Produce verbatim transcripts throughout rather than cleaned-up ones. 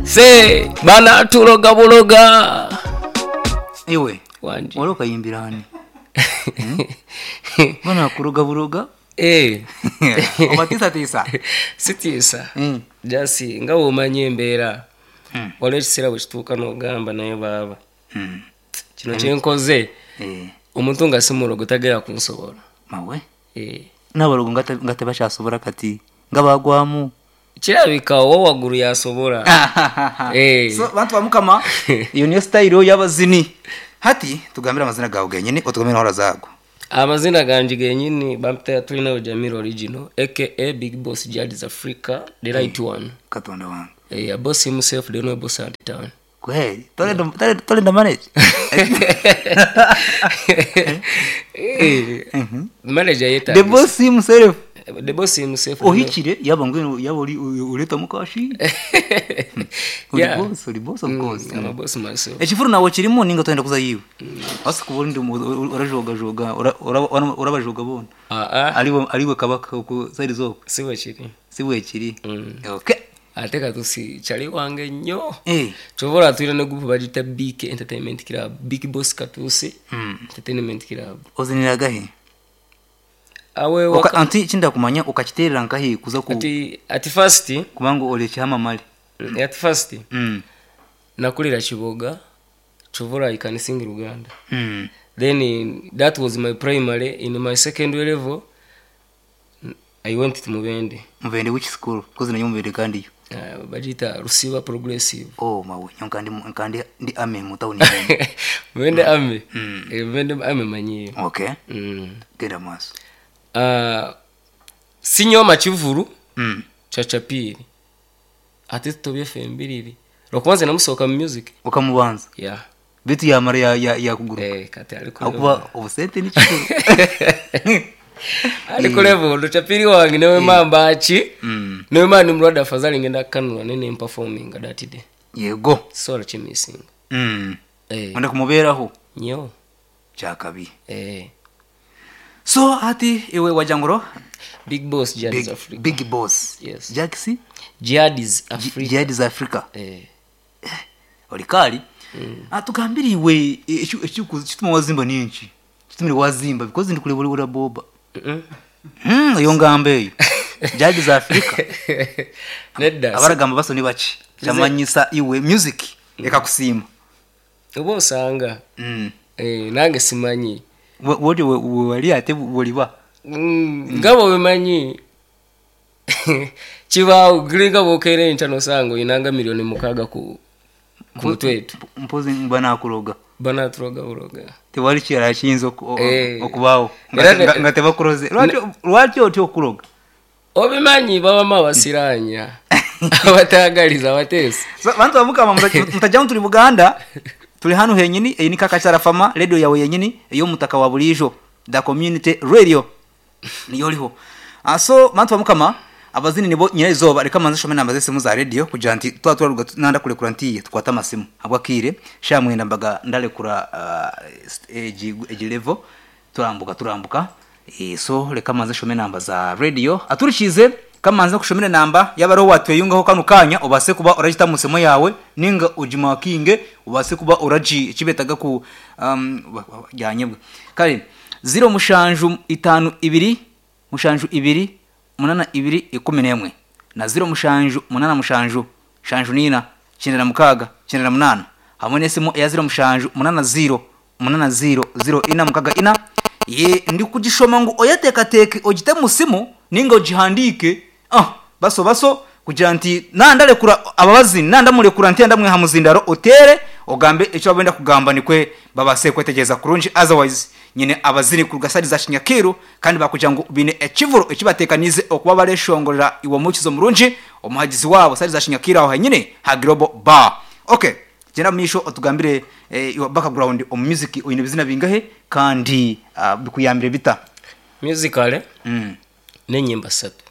Se banatuloga buloga. Iwe Wangi. Wali okayimbira ani? Hmm? Banakuloga buloga. Eh. Obatiisatiisa? Sitiisa. Mm. Just nga bw'omanyi embeera. Mm. Waliwo ekiseera bwe kituuka n'ogamba, naye baaba, Mm. kino kyenkoze, Eh, omuntu nga si mulogo tagera kunsobola. Mawe. Eh. N'abalogo nga te- nga tebakyasobola kati nga bagwamu. Kirabika owa waggulu yasobola. Eh. So bantu bamukama, iyo niyo style y'abazini. Hati tugambire amazina gawe genyini, otugambire n'ahora zago. Amazina ganje genyini bampita Tulinawe Jamil Original, A K A Big Boss Jadis Africa, the right one. Katonda wange. Eh, a boss himself, the only boss at the town. Kweli tolenda tolenda- tolenda manage. Eh, manager The yetagisa. boss himself. The boss himself. Ohikire yaba ngwino yaba uri ureta mukashi uri. Yeah. Boss, uri boss, of course. Mm, I'm a boss myself. Ekifuru nawe kirimo ninga twenda kuza yiwe ase kuba uri urajogajoga urabajoga bona. Ah, ah. Ariwe ariwe kabaka ku side zoko. Si bwe kiri. Si bwe kiri. Mm. Okay. Ate Katusi kyali wange nnyo. Eh. Kyova tulina ne group bagiyita B K Entertainment Club, Big Boss Katusi Mm. Entertainment Club. Oziniraga he? Awe. Oka- Waka, anti kinda kumanya ukakiterera nkahi kuza ku ati ati first kubanga ori ekihamamare. At first mm. nakulira Kiboga, kyova I can sing Luganda. Mm. Then in, that was my primary. In my secondary level I went to Mubende. Mubende which school? Kuzi nayo Mubende kandi yo. uh, bagiyita Rusiba Progressive. Oh mawe, nyo kandi kandi ndi ame mu town. Mubende ame. Mm. Eh, Mubende ame manyiyo. Okay. mm. Genda maaso. uh, sinyoma kivulu mm. Chachapiiri ate tutobye fembiriri lwakuba nze namusooka mu music. Ukamubanza? Yeah. Bitu yamara ya ya yakuguruka. Eh, kati ali ku Akuba obusente ni kikuru. Ali ku level Chachapiiri wange newe mamba ki mm. newe mani mulwadde afadhali ngenda kanula nene performing that day. Yego. Sola kimisinga. mm. Eh. Onda kumubeeraho. Nyo. Kyakabi. Eh. So ati iwe wajanguro. Big Boss Jihadis Big, Africa. Big Boss. Yes. Jaxi. Jihadis Africa. Jihadis Africa. Eh. Oli kali mm. Atugambire iwe ekituma wazimba ninki kitumire wazimba because ndi kuleba uri boba. Mm. mm, iyo ngambo eyo Jihadis Africa. Nedda. Abaragamba baso ni baki kyamanyisa iwe music ekakusiima. Oba osanga mm. eh, nange simanyi. Wodi wali ate boliba. Mm, nga bwebimanyi kibaawo giringa bwokeera enkya nosanga oyinanga miliyoni mukaaga ku ku mutwetu. Mpozi banakuloga. Banatuloga buloga. Tewali kirala kiyinza oku- o- Eh. okubaawo nga Era te- nga- ne- nga tebakuloze. Lwaki- lwaki otya okuloga? Obimanyi babamu abasiranya abatagaliza abateesi. So, bantu bamukama, mutajjamu tuli Buganda, tuli hano henyini. Eyi ni Kakakyala Fama Radio yawe yenyini ey'omutaka wa bulijo, the community radio niyo oliho. Ah, so bantu bamukama, abazini nibo nyina izoba. Reka manze shome namba z'esimu za radio kugira nti twa twaruga nanda kurekura ntiye tukwata amasimu habwakire sha mwenda mbaga ndarekura uh, egi egi level turambuka turambuka. e, so reka manze shome namba za radio aturikize kamanze kushomera namba yabariho watweyungaho kano kanya ubase kuba uragita musemo yawe ninga ujimakinge ubase kuba uraji kibetaga ku um, jyanyebwe kare zero mushanju itanu ibiri mushanju ibiri munana ibiri ikumi n'emwe na zero mushanju munana mushanju shanju nina cyenda na mukaga cyenda na munana hamwe n'esimu ya zero mushanju munana zero munana zero zero ina mukaga ina. Ye ndi kugishoma ngo oyatekateke ogite musimu ninga ogihandike ah baso baso kugira nti nandarekura ababazi nandamurekura nti ndamwiha muzindaro otere ogambe icyo babenda kugamba nikwe babase kwetegereza kurungi. Otherwise nyine abazini ku gasari za Shinyakiru kandi bakugira ngo bine ekivuro ekibatekanize okuba bareshongorera iwo mukizo murungi omuhagizi wabo sari za Shinyakiru aho henyine ha Global Bar. Okay, genda misho otugambire eh, your background omu music oyine bizina bingahe kandi uh, bikuyambire bita? Musically mm. n'enyimba ssatu.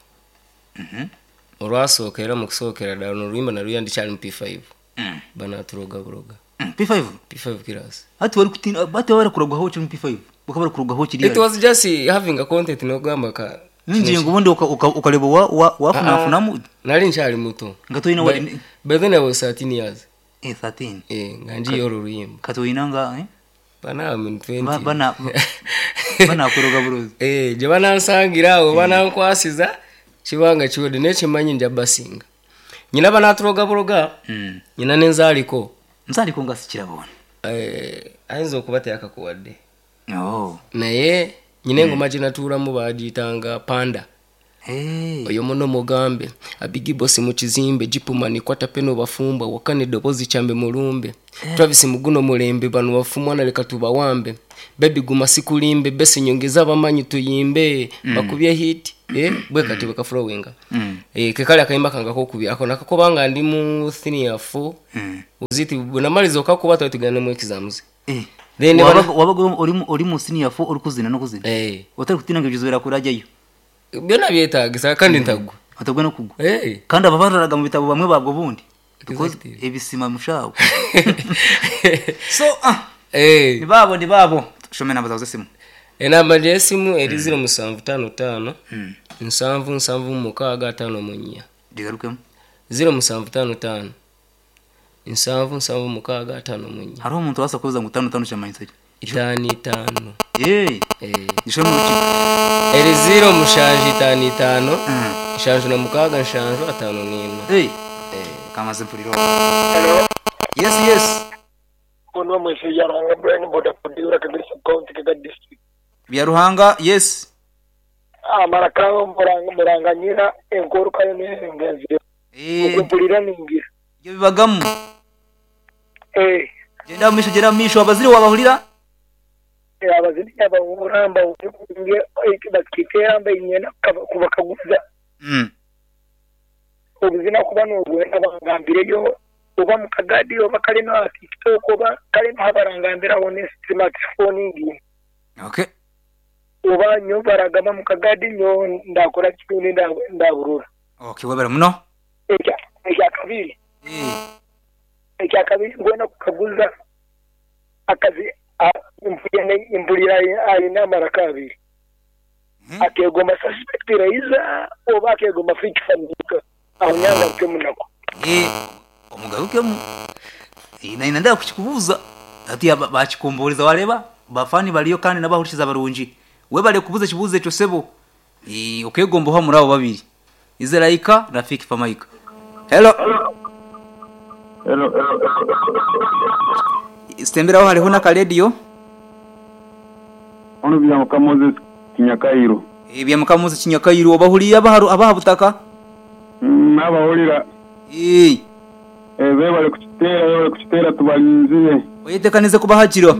Olwasooka era mu kusookera ddala noluyimba naluyimba ndikyali mu P five. Mm. Banatuloga buloga. Mm. P five? P five class. Hati wari kutina bati bari kuragwaho kiri mu P five bakaba bari kuragwaho kiri. It was just having a content nogamba ka Ninjingo ubundi uka- uka- ukareba wa- wa- wafunafunamu Nali nkyali muto. Nga toyina By- wali- By then I was thirteen years. Eh, thirteen. Eh, nga njiye olwo oluyimba. Katoyina nga eh? Bana I'm in twenty. Ba- bana banakuroga burozi. Eh, gye banansangira awo banankwasiza kibanga kiwedde, naye kimanyi nja basinga. Nyina banatuloga buloga. Mm. Nyina nenzaaliko. Nzaliko nga sikirabona. Eh, ayinza okuba teyakakuwadde. Oh. Naye nyina engoma gye natuulamu baagiyitanga panda. Hey. Oyo muno mugambe abigibosi mu kizimbe gipumani kwata peno bafumba wakane dobozi kyambe mulumbe Travis muguno mulembe bano bafumwana leka tubawambe baby guma sikulimbe besi nyongeza abamanyi tuyimbe mm. bakubye hit eh bwe kati bwe kaflowinga Mm. eh kekali akayimba kanga kokubya ako nakakobanga ndi mu senior four. Mm. Uziti bwe okakuba twali tugenda mu exams. Eh. Then Wabaga bana- wabaga uri mu- uri mu senior four uri kuzina no kuzina. Eh, Utari kutina ngo ibyo kurajyayo. Byonna byetaagisa kandi ntagwa. Atagwa no kugwa. Eh. Kandi ababararaga mu bitabo bamwe babwo bundi. Because Exactly. ebisima mushawo. So ah Eh. ni babo ni babo. Shome namba zawe z'esimu. Enamba y'essimu eri ziro musanvu ttaano ttaano nsanvu nsanvu mukaaga ataano mu nnya. Digarukemu. Ziro musanvu ttaano ttaano nsanvu nsanvu mukaaga ataano mu nnya. Hariho omuntu wasa kubuza ngo tano tano kyamanyisa ki? Itaano itaano. Eh. Eh. Gishome mu rukiko. Eri ziro mushanju itaano itaano Mm. nshanju na mukaaga nshanju ataano n'ina. Eh. Eh. Kamaze mpuliro. Hello. Yes yes. Kono mwese yaranga Brian Boda Podiura Kagari County Kagari District. Bya Ruhanga yes. Amara kawo muranga muranganyira enkoro kayo n'engenzi. Eh. Okumpulira ningira. Ibyo bibagamu. Eh. Genda misho genda misho abaziri wabahulira. Abazini abahuramba nge bakitera inyena kubakaguza. Mm. Obuzina kuba n'obwenda bangambireyo oba mu Kagadi oba kale na TikTok oba kale n'abarangambiraho ne smartphone ngi. Okay. Oba nyo baragamba mu Kagadi nyo ndakora kikundi ndaburura. Okay, webera muno. Ekya ekya kabiri. Eh. Ekya kabiri ngwena kukaguza akazi impulira impulira ayina amaraka abiri. Hmm. Akegoma suspect raiza oba akegoma fake family awunyanga kemunako. Eh, omugarukemu. Eh, na inanda kukikubuza. Ati bakikumburiza wareba bafani baliyo kandi nabahurishiza barungi. We bale kubuza kibuze ekyo sebo. Eh, okegomba ho muri abo babiri. Izeraika na Fik Famaika. Hello. Hello. Sitemberaho hariho na radio. Ono bya Moses Kinyakairo. Eh, bya Moses Kinyakairo obahuliya abaharu abahabutaka. Mm, abahulira. Eh. Eh, bebale kukitera bebale kukitera tubalinzire. Oyetekanize kubahagira.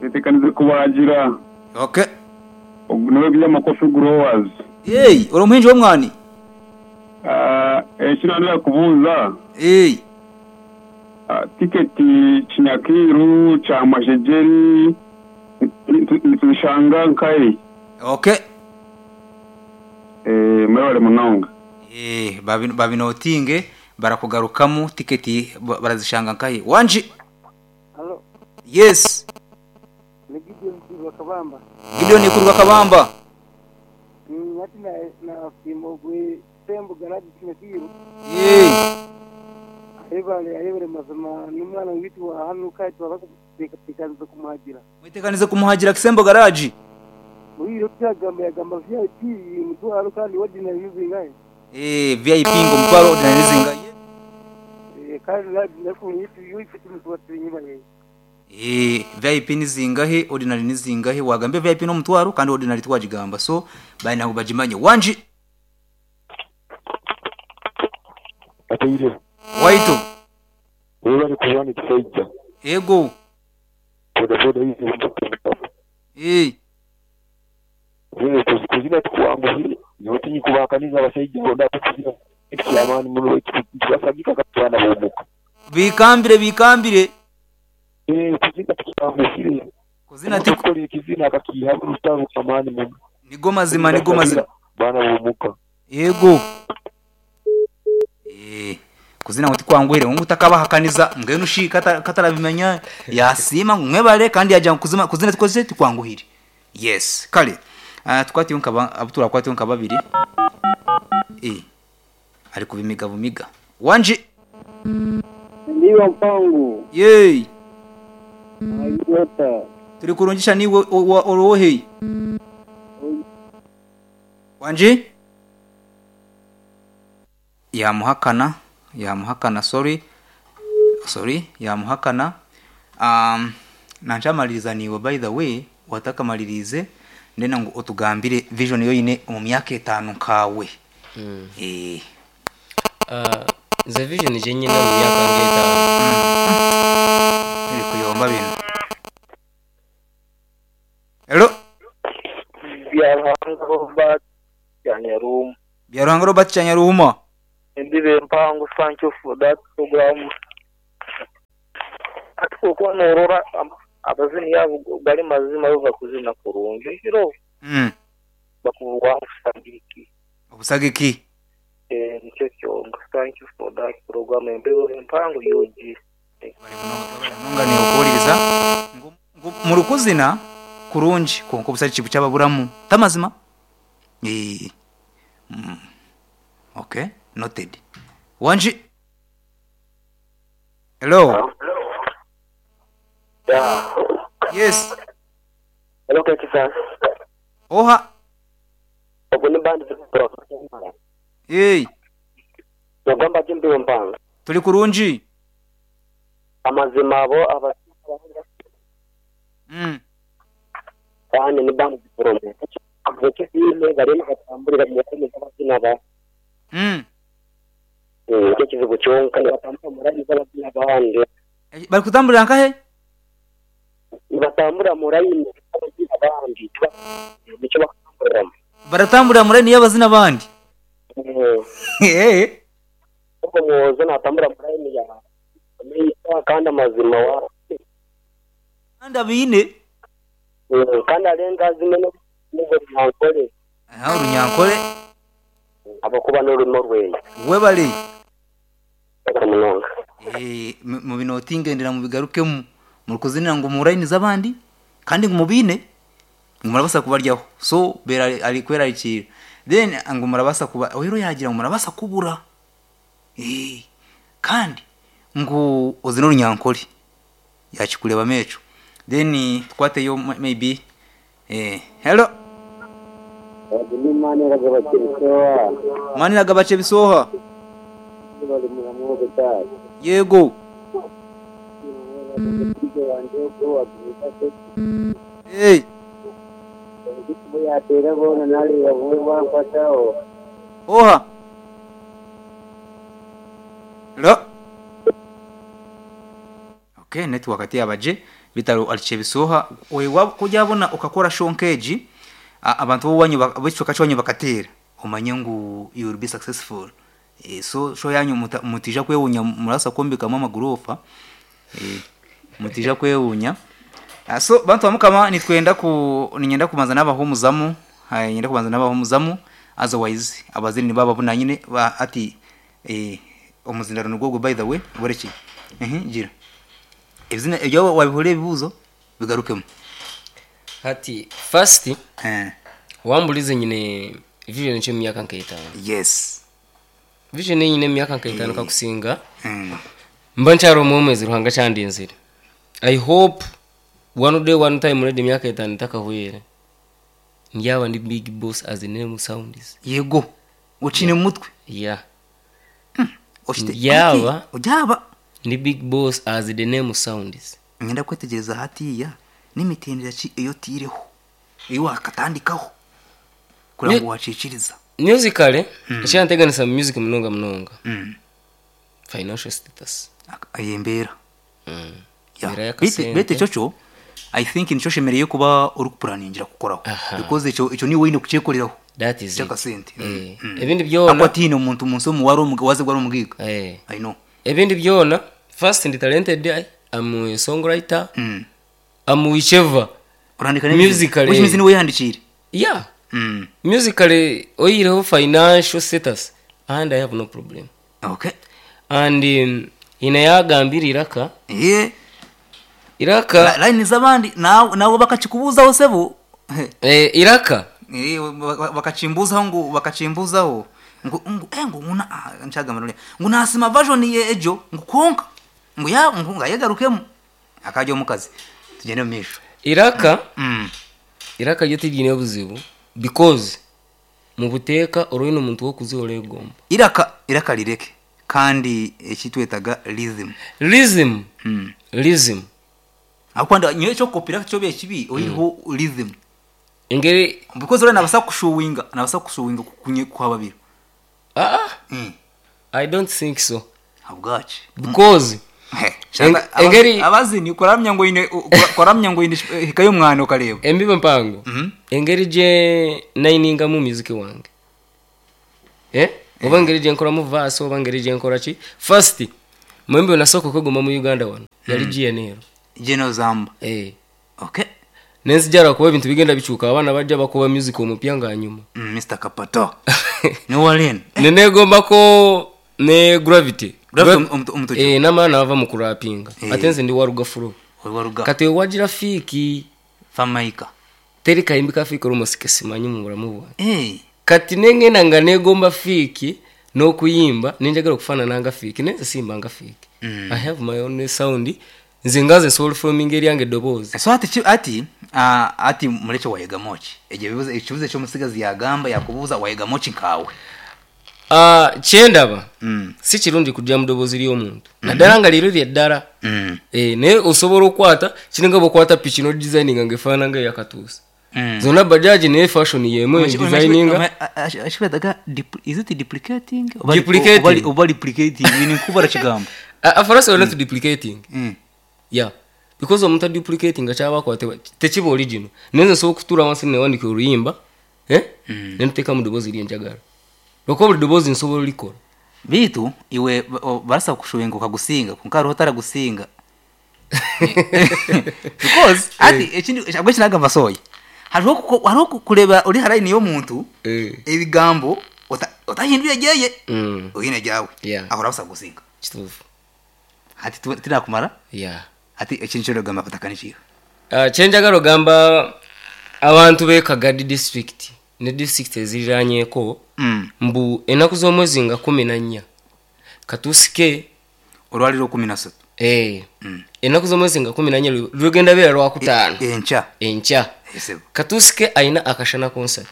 Yetekanize kubahagira. Okay. Niwe bya Makofi Growers. Eh, uri umuhinji w'umwani? Ah, eh kinanira kubuza. Eh. Ah, tiketi Kinyakiru cha Majejeri nitubishanga nkai. Okay. Eh, mwebale munonga. Eh, babinotinge barakugarukamu tiketi barazishanga nkai. Wanji. Hello. Yes. Ni Gideon Kurwa Kabamba. Gideon Kurwa Kabamba. Mm, ati na na simogwe sembo garaji Kinyakiru. Eh. Ayebale ayebale mazima n'umwana witwa hano kati bakutekanze kumuhagira. Mwitekanize kumuhagira Kisembo garage. Muri cyagamba yagamba V I P mutwaro kandi ordinary yuzingaye. Eh, V I P ngo mutwaro ordinary yuzingaye. Eh, kandi nafunye ifite mutwaro inyuma ye. Eh, V I P nizingahe ordinary nizingahe wagambe V I P no mutwaro kandi ordinary twajigamba so bayina kubajimanye. Wanji. Atayire. Waito. Wewe bari kubana kisajja. Ego. Boda boda hizi mtoto. Eh. Wewe kuzina tukuanguhire yote kubakaniza abasajja bonda tukuzina ekyamaani muno ekibasagika katwana bomuka. Bikambire bikambire. Eh, kuzina tukuanguhire. Kuzina tikukora ekizina akakiha rutaru amaani muno. Nigo mazima nigo mazima. Bana bomuka. Yego. Eh, kuzina ngo tikwanguhire ngo utakabahakaniza mbwenu ushika katarabimenya yasima mwebale kandi yajya kuzima kuzina tikoze tikwanguhire. Yes, kale. Ah, tukwatiyo nkaba abo turakwatiyo nka babiri eh ari kubimiga bumiga wanje. Ndiyo mpango Yey, ayota. Turi kurungisha niwe orohe wanje. Yamuhakana, yamuhakana, sorry, sorry, yamuhakana. um, nancamaliriza niwe, by the way, watakamalirize ndena ngu otugambire vision yoyine omu myaka etaano nkawe. Mm. Eh. Ah, nze vision gye nyina mu myaka ng'etaano. Eri kuyomba bino. Hello. Byaruhanga Robert Kyanyarumu. Byaruhanga Robert Kyanyaruhuma. Ndibe mpango, thank you for that program. Ati kuko norora am- abazini yabo gari mazima bava kuzina kurungi hiro mm. bakuvuga usagiki. Obusagiki. Eh, nicyo kyonga. Thank you for that program, embeho empango yogi. Nonga ni okuwuliriza Ngu- ngu mu rukuzina kurungi konka obusagiki bukyababuramu tamazima. Eh. Mm. Okay, noted. Wanji. Hello. Yeah. Yes. Hello, Kekisa. Oha. Obwo ni bandi. Hey. Nogamba jimbiwe mpango. Turi kurungi. Amazima abo aba Mm. kandi ni bandi promo. Ekizime barimu batambulira mu mikono z'abazina ba. Mm. Nicyo kizibu kyonka, nibatambura mu layini z'abazina abandi. Eh, bari kutambulira nkahe? Nibatambura mu layini z'abazina abandi, nicyo bakutamburiramo. Baratambulira muri niyo abazina abandi. Eh. Ubwo mwozo natambura mu layini ya Meisa kandi amazima wa Kandi abine. Eh, kandi arenga zimwe no n'ubwo nyankole. Aha urunyankole. Abakuba n'ururimo rwenya. Webale. Munonga. Eh, mu mu binoti ngendera mu bigarukemo mu kuzinira ngo mu line z'abandi kandi ngo mubine ngo murabasa kubaryaho, so bera ari kwerarikira then ngo murabasa kuba ohero yagira ngo murabasa kubura. Eh, kandi ngo uzino runyankole yakikureba mecho then twateyo maybe. Eh, hello. Manira gabache bisoha. Yego. Hey. Oha. Hello. Okay, network ati abaje bitaro aliche bisoha oye kujabona ukakora shonkeji abantu bo wanyu bicoka cyo bakatera umanye ngo you will be successful. E, so sho yanyu mutija kwewunya murasa kombika mama gurofa e, mutija kwewunya. So bantu bamukama nitwenda ku ninyenda kubanza n'abahumuzamu, hayi nyenda kubanza n'abahumuzamu, otherwise abazini baba bunanyine ba ati eh omuzindaro nugwo by the way boreki eh gira ebizina ebyo wabihore ebibuzo bigarukemo. Hati first eh wambulize nyine vision cyo myaka nk'itanu. Yes, vision nyine myaka nk'itanu kakusinga mm. Mba ncyari umwezi ruhanga cyandinzira. I hope one day one time ready myaka itanu itakahwere ndyaba ndi big boss as the name sounds. Yego ucine mu mutwe. Yeah. Mm. Oshite yaba ujyaba ndi big boss as the name sounds. Ngenda kwetegereza hatiya n'imitendera ki iyo tireho iyo wakatandikaho kugira ngo waciciriza musically mm. Icyanteganisa music munonga munonga mm. Financial status ayembera mm. Yeah. Bite bite cyoco I think nico shemereye kuba uri kupuraningira kukoraho because ico ico ni wine kucekoreraho. That is it sente. Mm. Mm. Ebindi byona akwa tino umuntu munsi mu wari waze gwari umugiga. Eh, I know ebindi byona first ndi talented, I am a songwriter. Mm. Am whichever urandika musically which means ni weyandikire. Yeah. Mm. Musically oyireho financial status and I have no problem. Okay. And um, ina yagambira iraka eh iraka line z'abandi nawe nawe bakakikubuzaho sebo eh iraka Eh, ba- bakachimbuzaho ngu bakachimbuzaho ngu ngu eh, ngu nguna ah, nchagamba nole ngu nasima version ye ejo ngu konka ngu ya ngu ngayegarukemu akajya omukazi tugende mu misho Iraka mm. iraka ryo tiryine obuzibu because mu buteeka oroine omuntu wokuziha oregomba. Iraka iraka lireke kandi ekitwetaga rhythm. Rhythm. Mm. Rhythm. Akwanda nyowe cyo kopira cyo bekibi oyiho rhythm. Engeri because ora nabasa kushuwinga nabasa kushuwinga kunye kwa babiri. Ah, mm. I don't think so. Habwachi? Because Shaka- engeri- abazini kuramya ngo ine kuramya ngo ine hikayo mwana ukareba. Embibo mpango. Mhm. Engeri gye nayiningamu music wange, eh oba engeri gye nkoramu verse, oba engeri gye nkora ki, first mwembi nasooka okwegomba mu Uganda wano yali G N L. Geno zamba. Eh. Okay. Nenzijala kuba ebintu bigenda bikyuka, abaana bajja bakuba music omupya nga nyuma. Mm, Mister Kapato ni Warren. Nenegombako ne Gravity. Gravity omu- omu- omutuju. Eh, namala nava mu kurapinga. Eh. Ate nze ndi waruga furo. Waruga. Kati wagira Fiiki. Famaika. Teri kayimbi ka Fiiki olumosike simanyi mu bulamu bwange. Eh. Kati nengenda nga negomba Fiiki n'okuyimba, nenjagala okufaanana nga Fiiki, naye nze simba nga Fiiki. Mm. I have my own sound. Nze nga nze nsobola forming eryange eddoboozi. So ati ki- ati ah, ati muleke wayegamoki egyo ebibuzo ekibuzo ekyomusigazi yagamba yakubuuza wayegamoki nkawe. Ah, kyendaba mm. si kirungi kujja mu ddoboozi ly'omuntu, naddala nga leero lyeddala. mm. Eh, naye osobola okwata kiringa bwokwata piki nodesigninga nga efaanana nga eyakatuusa. Mm. Zonna bajaji, naye fashion yemu designinga. Ashibadaga, is it duplicating oba Duplicating. oba- oba duplicating ni nkubara kigambo? Afarasi are not duplicating. Mm. Yeah, because omuntu aduplicating kyaba akwatibwa tekiba original. Naye nze nsobola okutuula wansi newandika oluyimba, eh? Nentuteeka mu ddoboozi lyenjagala, lwokuba buli ddoboozi nsobola olikola. Bitu iwe ba- o- barasa kushuwinga ukagusinga kunka hariho otaragusinga because ati ekindi abwe kinagamba soya hariho kuko- hariho ku- kureba uri harayini y'omuntu Eh. ebigambo ota- otahindura gyeye Mm, oyine gyawe. Yeah. Aho urabasa gusinga. Kituufu. Ati tu- tinakumara. Yeah. Ati ekintu kyogamba batakanikiyo. Ah, kyenjagala ogamba abantu b'e Kagadi district ne district eziriraanyeeko mm. mbu ennaku z'omwezi nga kumi na nnya katusike. Olwaliro kumi na ssatu. Eh, Mm. ennaku z'omwezi nga kumi na nnya lwe- lugenda beera lwakutaano. Enkya. Enkya. Esebo. Katusike ayina akashana concert.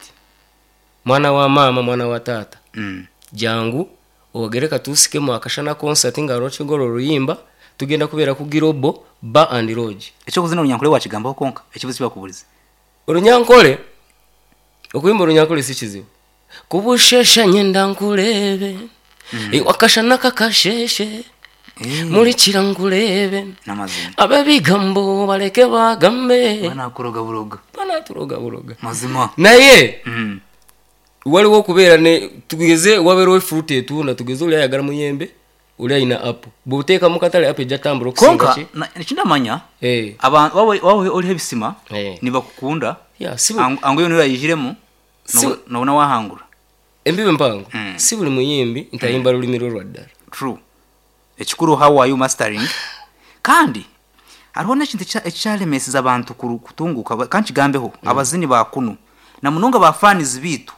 Mwana wa maama, mwana wa taata, mm. jangu owagere katusike mu akashana concert nga lwakigolo oluyimba tugenda kubeera ku Girobo Bar and Lodge. Ekyokuzina olunyankole wakigambaho konka ekibuzo kibakubuliza. Olunyankole, okuyimba olunyankole si kizibu. Kubushesha nyenda nkulebe, mm. wakashana kakasheshe, Eh, mulikira nkulebe. N'amazima. Abebigambo baleke bagambe. Banakuroga buroga. Banaturoga buroga. Mazima. Naye mm. waliwo okubeera ne tugeze wabeerewo efuruta etunda, tugeze oli ayagala muyembe, oli ayina apo, bw'oteeka mu katale apo ejja tambula okusinga. Konka ki na- ekindamanya Eh, abantu wawe wawe oliho ebisima eh. nibakukunda. Yeah, si buli- Angu- angu yo nirayijiremu Si- nobona wahangura. Embibo empango. Mm. Si buli muyimbi nti ayimba lulimi lwe lwa ddala. True. Ekikuru how are you mastering, kandi hariho n'ekintu ekya- ekyalemeseza abantu kuru- kutunguka ba- kandi kigambeho abazini ba kunu na munonga ba fans bitu.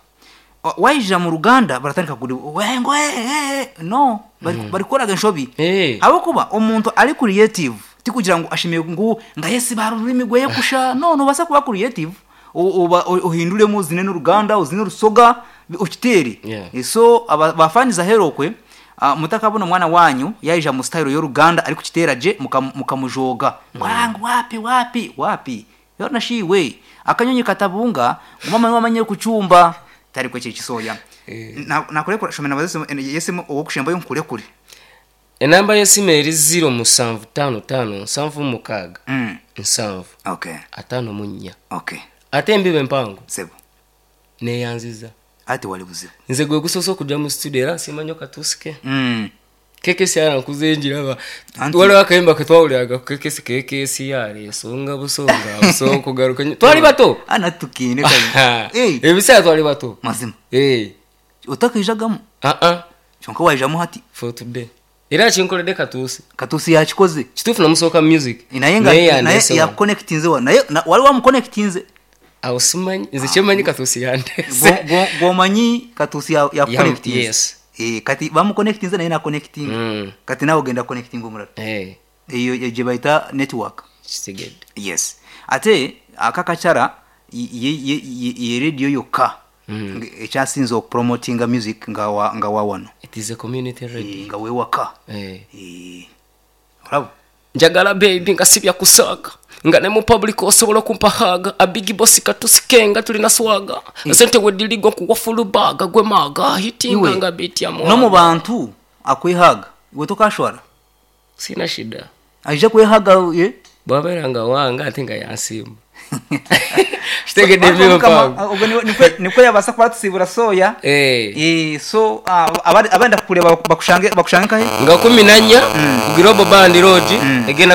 Wa- wayijira mu ruganda baratandika kuri wengo eh, eh, no bari bari kukoraga enshobi. Eh. Habwokuba omuntu ari creative tikugira ngu ashimiye ngu nga yesi bara ururimi gweye kusha no nobasa kuba creative o- oba o- ohinduremu uzine n'uruganda, uzine urusoga ukitere. Yeah. Eh, so aba- bafaniza herokwe uh, mutakabona omwana wanyu yaija mu style y'oruganda ari kukitera je muka- mukamujoga ngwangu wapi wapi wapi yona shiwe akanyonyi katabunga mama wamanye kucyumba tari kwe kisoya. Eh. Nakurekura shomena bazese yesemo owokushembayo nkurekure. Enamba y'essimu eri zero musanvu ttaano ttaano nsanvu mukaaga mm. nsanvu okay ataano mu nnya. Okay. Ate embibo empango, sebo. neeyanziza. Ati wali buzibu. Nze gwe gusoose okujja mu studio era nsiima nnyo katusike. mm. K K S R nkuze njiraba. Anti- Waliwo akayimba ketwawuliraga ku K K S, K K S R esonga busonga busonga kugaruka nnyo. Twali bato. Ana tukine kazi. Eh, ebiseera twali bato. Mazima. Eh, utakijagamu. ah ah. Kyonka wayijamu hati. For today era kinkoledde katuuse. Katusi yakikoze. Kituufu namusooka music. Naye nga Naye naye yandeese wano. yakuconnectinze wa naye na- wali wamuconnectinze. Awo simanyi, nze kyemanyi Katuusi yandeese. Gwo- gwo- gwomanyi Katuusi ya- Ya- yakuconnectinze. yes. Eh, kati bamuconnectinze naye naconnectinga. Mm. Kati nawe ogenda connectinga omulala. Eh, Eyo eyo gye bayita network. Kitegedde. Yes, ate akakacara ye, ye, ye, ye radio yokka Mm. nga ekyasinze okupromotinga music nga wa, nga wa wano. It is a community radio. Eh, nga wewaka. Eh. Eh, olaba. Njagala baby nga sibya kusaaga, nga ne mu public osobola okumpa haga. Abigi bosi katusike nga tulina swaga, sente wedirigo nkuwa fulubaga gwe maga hitinga. Iwe, Nga bitya no mu bantu akwehaga, iwe tokashwara. Sina shida. Aija kwehaga ye. Bwabeera nga wanga ate nga yansiima, kitegedde. Bantu Mukama, Ebyo. ubwo niwe- nikwe- nikwe yabasa kuba tusibura soya. Eh. Eh, so ah, abandi- abenda kureba bakushange bakushange kahe? Nga kumi nanya ku Global Band Lodge egenda.